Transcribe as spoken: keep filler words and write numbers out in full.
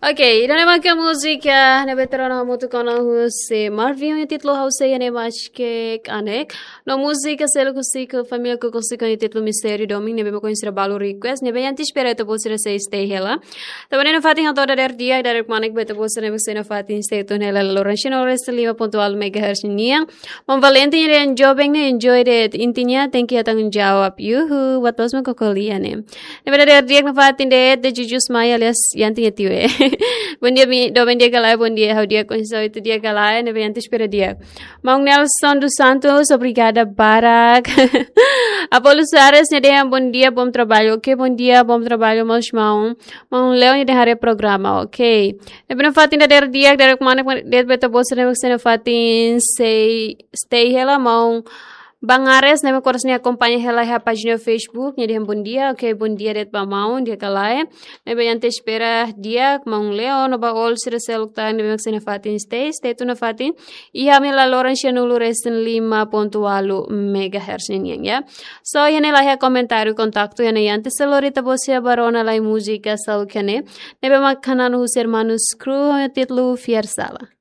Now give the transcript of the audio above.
Ok, ida-ne'e maka múzika ne'ebé trono hamutuk ona husi Marvin, nia títulu ha'u sei iha ne'e maske kanek. No múzika seluk husi família Koko Siko, nia títulu Mistériu Domin, ne'ebé mak koñesidu balu request, ne'ebé ita espera ita-boot sira sei stay hela. Tanba ne'e nafatin ha'u atu dadeer di'ak, dadeer kmanek ba ita-boot sira ne'ebé sei nafatin stay tune hela laloran sira no resin lima pontu ualu megahertz nian. Maun Valentin dehan joven ne'e enjoy de'it, intinya tenke iha tanggung jawab. Yuhu, buat loos mak ko'alia ne'e. Ne'ebé dadeer di'ak nafatin de'it, de Jujus Mai alias Yanti nia tiwe. Bom dia, mi, doben di'ak ka lae, bom dia, ha'u di'ak, kondisaun ita di'ak ka lae, ne'ebé Yanti espera di'ak. Maun Nelson dos Santos, obrigada barak. Apolo Soares nia dehan bom dia, bom trabalho. Ok, bom dia, bom trabalho, maun Simão. Maun Leo nia dehan haree programa, ok. Ne'ebé nafatin dadeer di'ak, dadeer kmanek de'it ba ita-boot sira ne'ebé sei nafatin sei stay hela, maun Bangares, ne'ebé koras nia akompaña hela iha pájina Facebook, nia dehan bom dia, ok, bom dia de'it ba maun, di'ak ka lae. Ne'ebé Yanti espera di'ak, maun Leo, no ba all sira seluk tan, ne'ebé mak sei nafatin stay, stay tune nafatin. Iha ami laloran sianulu resin lima pontu ualu megahertz nian, ya. So, iha ne'e laiha komentáriu, kontaktu iha ne'e, antes de lori ita-boot sira ba rona lai múzika seluk iha ne'e. Ne'ebé mak hanesan husi Hermanos Cruz, ho títulu Fiar Sala.